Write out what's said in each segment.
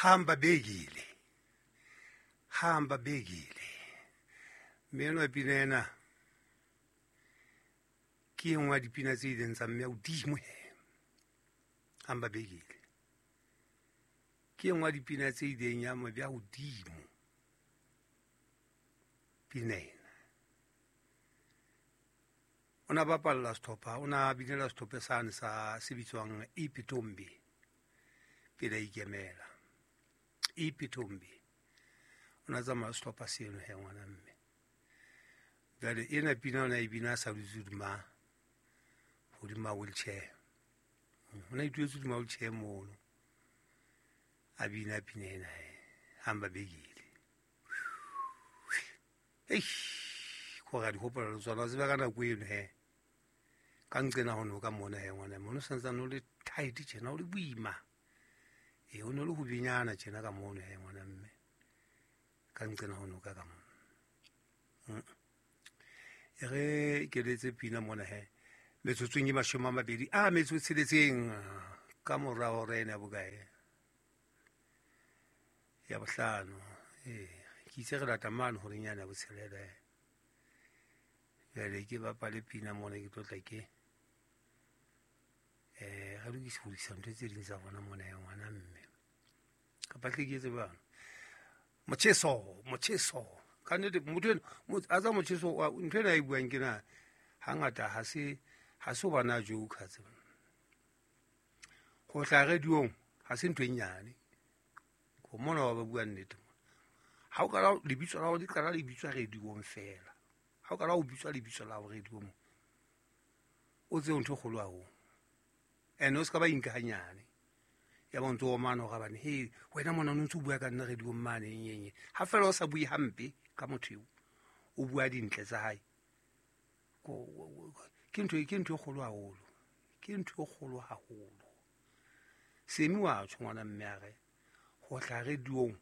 Hamba bekile, hamba bekile. Mme enwa pina ena ke e nngwe ya dipina tse ileng tsa mme hodimo he. Hamba bekile ke e nngwe ya dipina tse ileng ya mo beha hodimo pina ena. O na bapalla sehlopha, o na binela sehlopha sane sa se bitswang Ipitombi pele a ikemela. Ipitombi o na tsamaya sehlopha seno he ngwana mme. Jwale ena pina o na e bina a sa dutse hodima wheelchair. O na ituletse hodima wheelchair mono. A bina pina ena he. Hamba bekile. Eish, gore a di gopola le tsona, o tseba ka nako eno he. Ka nqena ho no ka mona he ngwana mme, o no santsane o le tight tjena, o le boima. E, o ne le ho binyana tjena ka mono he ngwana mme. Ka nqena ho no ka ka mona. E re ke letse pina mona he. Metsotsong e 20 a metso e tsheletseng ka mora hora ena ya bokae? Ya bohlano. Ke itse re lata mane horeng yane ya botshelela. Jwale ke bapale pina mona ke tlo tla ke re lokise ho lokisa ntho tse ding tsa rona mona ya ngwana mme. Kapa tle ke etse jwang? Motjheso, motjheso. Ka nnete motho ena, a tsa motjheso, ntho ena e buang ke na hangata ha se ho bana joke tse. Ho hlaha radiong ha se ntho e nyane. Ho mona ba bua nnete. Ha o qala lebitso la hao le qala le bitswa radiong fela. Ha o qala ho bitswa lebitso la hao radiong, o tsebe ntho e kgolo haholo. Ene o se ka ba inka hanyane. Ya ba ntse o omana hore bane, he, wena mona o ntse o bua ka nna radiong mane, eng, eng, eng. Ha fela o sa bue hampe ka motho eo, o bua dintle tsa hae. Ke ntho, ke ntho e kgolo haholo. Ke ntho e kgolo haholo. Semi wa tjho ngwana mme a re, ho hlaha radiong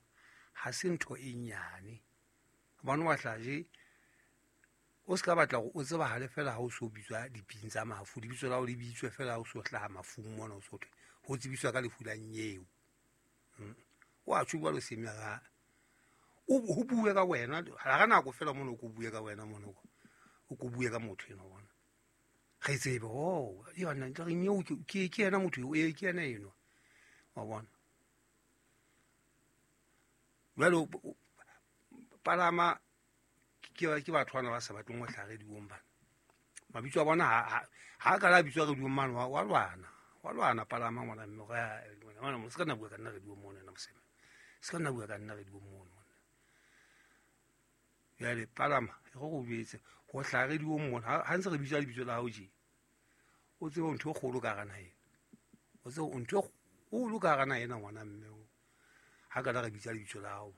ha se ntho e nyane. Hobane wa hlaha je, o se ka batla hore o tsebahale fela ha o so bitswa diping tsa mafu. Lebitso la hao le bitswe fela ha o so hlaha mafung mona, o so thwe ho tsebiswa ka lefu la nyeo. Wa tjho jwalo Semi a re, ho bue ka wena, ha re nako fela mona o ko bue ka wena mona, o ko bue ka motho enwa bona. Re tsebe, oh, yona, re nyeo ke yena motho eo, ee, ke yena enwa. Wa bona. Jwale palama ke batho bana ba sa batleng ho hlaha radiong bana. Mabitso a bona ha ka la bitswa radiong mane, wa lwana. Wa lwana palama ngwana mme, hore, ha, ngwana, ngwana, se ka nna bua ka nna radiong mona, nna moseme. Se ka nna bua ka nna radiong mona, monna. Jwale palama, e re go jwetse, ho hlaha radiong mona, ha ntse re bitsa lebitso la hao tje, o tsebe ntho e kgolo ka hara naha ena. O tsebe ntho e kgolo ka hara naha ena, ngwana mme o. Ha ka la re bitsa lebitso la hao.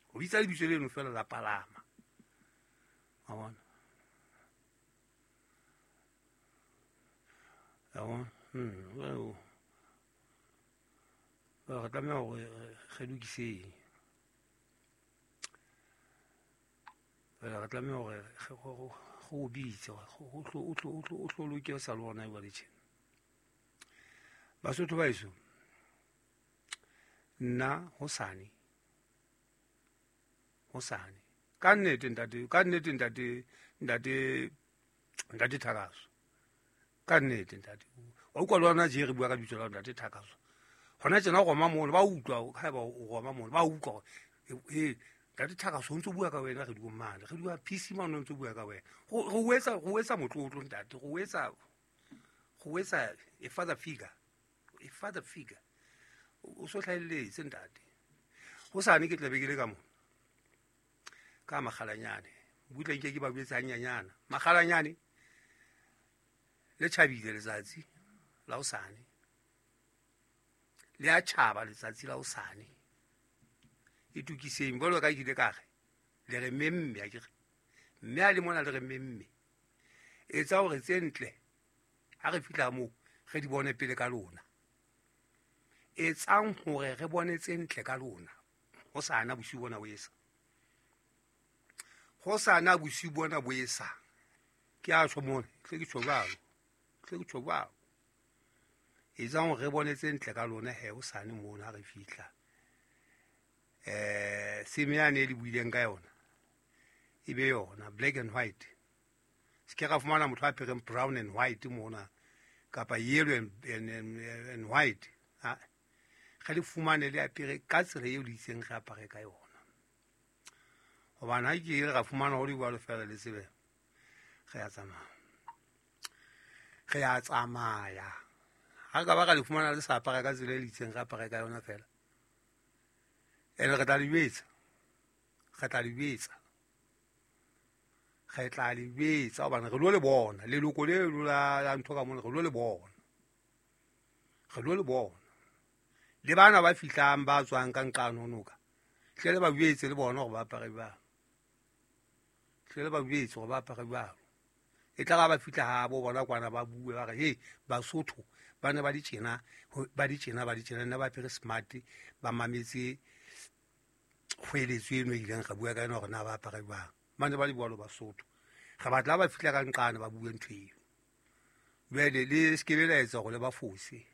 Ho bitsa lebitso leno fela la palama. Wa bona? Wa bona? Re tlameha hore re lokiseng. Re tlameha hore re o bitse, o tlo loke o sa le ona jwale tjena. Basotho ba heso, nna hosane, hosane, ka nnete ntate, ka nnete ntate, ntate, ntate Thakaso, ka nnete ntate. Wa utlwa le wena je re bua ka lebitso la ntate Thakaso. Hona tjena o roma mono, ba utlwa, haeba o roma mono, ba utlwa hore, ntate Thakaso o ntso bua ka wena re diong mane, re dua PC mane o ntso bua ka wena. Re o etsa motlotlo ntate, re o etsa a father figure, a father figure. O so hlahelletse ntate. Hosane ke tla be ke le ka mona. Ka makgalanyane. Butle nke ke ba jwetse hanyanyana. Makgalanyane le tjhabile letsatsi la hosane. Le a tjhaba letsatsi la hosane. Itokiseng jwalo ka ke ile ka re, le re memme, ha ke re. Mme a le mona le re memme. Etsa hore tse ntle ha re fihla moo re di bone pele ka lona. Etsang hore re bone tse ntle ka lona. Hosana bosiu bona bo esa. Hosana bosiu bona bo esa. Ke a tjho mona, tle ke tjho jwalo. Tle ke tjho jwalo. Etsang hore re bone tse ntle ka lona he hosane mono ha re fihla. Seme yane e le buileng ka yona e be yona black and white. Se ke ra fumana motho a apereng brown and white mona kapa yellow and white. Ha re le fumane le apere ka tsela eo le itseng re apare ka yona. Hobane ha ke re ra fumana ho le jwalo feela le tsebe re a tsamaya. Re a tsamaya. Ha ka ba ra le fumana le sa apara ka tsela e le itseng re apare ka yona feela. Ene re tla le jwetsa. Re tla le jwetsa. Re tla le jwetsa hobane re lo le bona. Leloko leno la ntho ka mona re lo le bona. Re lo le bona. Le bana ba fihlang ba tswang ka nqane ho noka. Hle le ba jwetse le bona hore ba apare jwang. Hle le ba jwetse hore ba apare jwang. E tla ba fihla ha bo bona kwana ba bue ba re hey Basotho ba ne ba di tjena ba di tjena ba di tjena nna ba apere smart ba mametse kgweletso eno e ileng ra bua ka yona hore na ba apare jwang. Ba ne ba le jwalo Basotho. Re batla ba fihla ka nqane ba bue ntho eo. Jwale le se ke be la etsa hore le ba fose.